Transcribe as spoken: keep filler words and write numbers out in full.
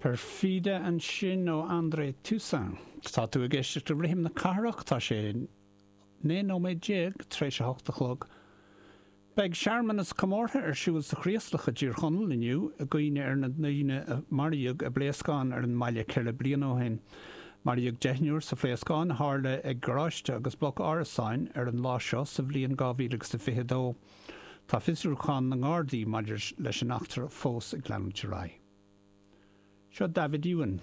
Perfide ansin ó André Toussaint. Tá tú ag éisteacht le Rithim na Cathrach, tá sé naoi nóiméad déag tar éis a hocht a chlog. Beidh searmanas comórtha ar siúl sa Chraoslach i dTír Chonaill inniu i gcuimhne ar na daoine a maraíodh i bpléascán ar an mbaile ceithre bliana ó shin. Maraíodh deichniúr sa phléascán a tharla ag garáiste agus bloc árasáin ar an lá seo sa bhliain dhá mhíle agus a fiche dó. Tá fiosrúchán na nGardaí maidir leis an eachtra fós ag leanúint ar aghaidh. Seo David Ewan.